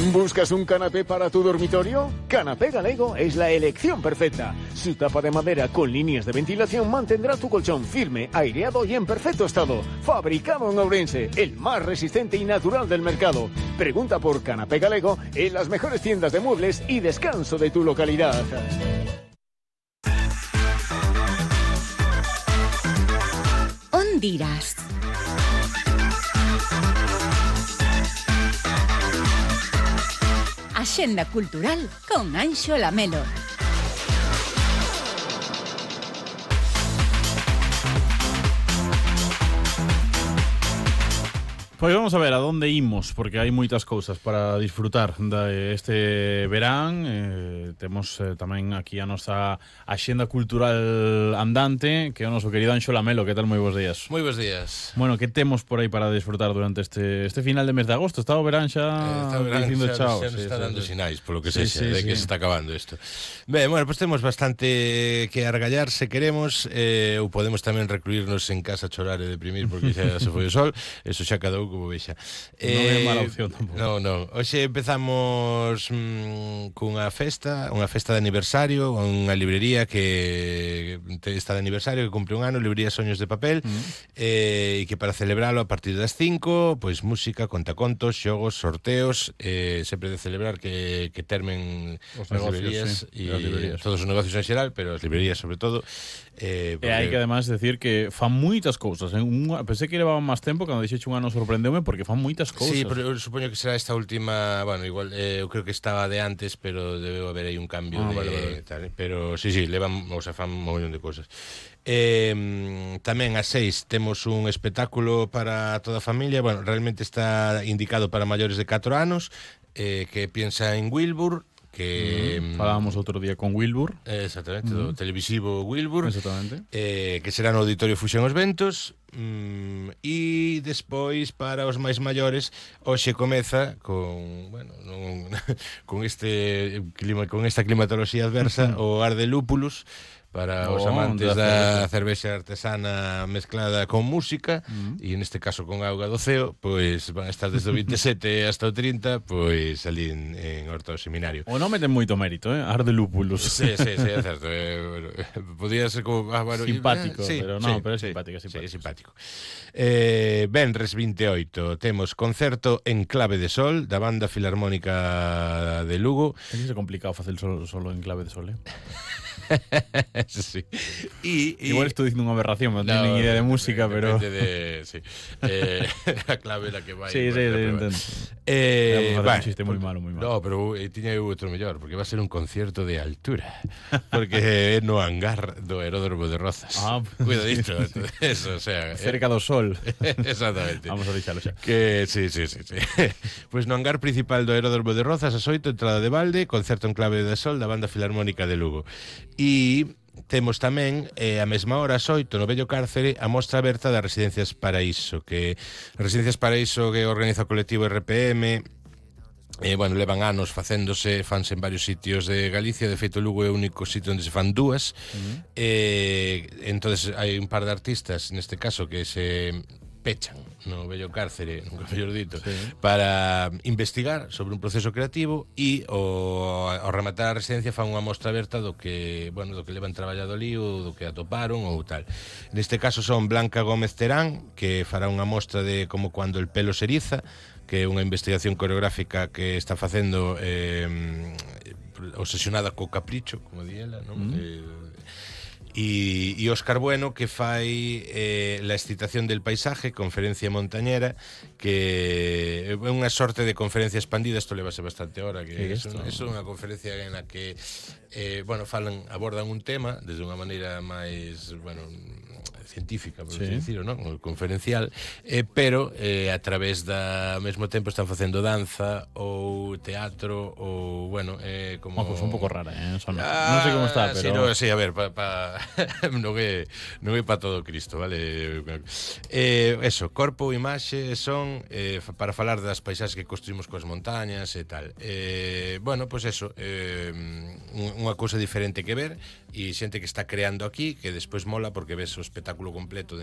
¿Buscas un canapé para tu dormitorio? Canapé Galego es la elección perfecta. Su tapa de madera con líneas de ventilación mantendrá tu colchón firme, aireado y en perfecto estado. Fabricado en Ourense, el más resistente y natural del mercado. Pregunta por Canapé Galego en las mejores tiendas de muebles y descanso de tu localidad. Ondiras. Axenda cultural con Anxo Lamelo. Pois vamos a ver a dónde imos, porque hai moitas cousas para disfrutar este verán. Temos tamén aquí a nosa axenda cultural andante, que é o noso querido Anxo Lamelo. Que tal? Moi bons días. Moi bons días. Bueno, que temos por aí para disfrutar durante este final de mes de agosto? Está o verán xa dicindo chao. Xa está dando sinais, polo que sexa, de que se está acabando isto. Ben, bueno, pues temos bastante que argallar se queremos, ou podemos tamén recluirnos en casa a chorar e deprimir porque xa se foi o sol. Eso xa cada como vexa. Non é mala opción tampouco. Non. Hoxe empezamos cunha festa de aniversario, unha librería que está de aniversario, que cumpre un ano, librería Soños de Papel, e que para celebralo a partir das 5, pois música, contacontos, xogos, sorteos, sempre de celebrar que termen os as negocios, librerías, todos os negocios en xeral, pero as librerías sobre todo. E hai que además decir que fan moitas cousas. Pensei que levaban máis tempo, cando dixeche un ano sorprendeume porque fan moitas cousas. Sí, pero eu supoño que será esta última, bueno, igual eu creo que estaba de antes, pero debe haber aí un cambio vale. Tal, pero sí, levan, o sea, fan un montón de cousas. Tamén ás 6 temos un espectáculo para toda a familia. Bueno, realmente está indicado para maiores de 4 anos, que piensa en Wilbur, que falábamos outro día con Wilbur, exactamente, do televisivo Wilbur, exactamente, que será no Auditorio Fusión Os Ventos. E despois para os máis maiores hoxe comeza con, bueno, con este clima, con esta climatoloxía adversa, o Ar de Lúpulos para os amantes da cervexa artesana mezclada con música, e neste caso con auga do ceo, pois van a estar desde o 27 hasta o 30, pois ali en Horta do Seminario. O nome ten moito mérito, Ar de Lúpulos. Sí, é certo. Podía ser como bueno, simpático, sí, pero non, pero é simpático. Sí, simpático. Venres 28 temos concerto en Clave de Sol da Banda Filarmónica de Lugo. É complicado facer solo en Clave de Sol, Sí. Igual estou dicindo unha aberración, non teño nin idea de música, pero sí. A clave la que vai. Sí, entendo. Un chiste moi malo. No, pero tiña eu outro mellor, porque va a ser un concierto de altura, porque é no hangar do Aeródromo de Rozas. Cuidadito, eso, o sea, cerca do sol. Exactamente. Vamos a deixalo xa. Que sí. Pois no hangar principal do Aeródromo de Rozas, a 8, entrada de balde, concerto en Clave de Sol da Banda Filarmónica de Lugo. E temos tamén a mesma hora, as 8, no Vello Cárcere, a mostra aberta das Residencias Paraíso, que organiza o colectivo RPM. Bueno, levan anos fanse en varios sitios de Galicia. De feito, Lugo é o único sitio onde se fan dúas. Entonces hai un par de artistas, neste caso, que se pechan no Vello Cárcere, nunca mellor dito, para investigar sobre un proceso creativo, e ao rematar a residencia fan unha mostra aberta do que levan traballado ali, ou do que atoparon ou tal. Neste caso son Blanca Gómez Terán, que fará unha mostra de como cuando el pelo se eriza, que é unha investigación coreográfica que está facendo obsesionada co capricho, como di ela, non? E Óscar Bueno, que fai La excitación del paisaje, conferencia montañera, que é unha sorte de conferencia expandida. Isto levase bastante hora, que é unha conferencia en la que abordan un tema desde unha maneira máis científica, por así decirlo, non? Conferencial, pero a través ao mesmo tempo están facendo danza ou teatro ou, como... Pues un pouco rara, non sei como está, pero... Sí, a ver, non é para todo Cristo, vale? Eso, corpo ou imaxe son para falar das paisaxes que construímos coas montañas e tal. Pues eso, unha cousa diferente que ver, e xente que está creando aquí, que despois mola porque ves o espectáculo completo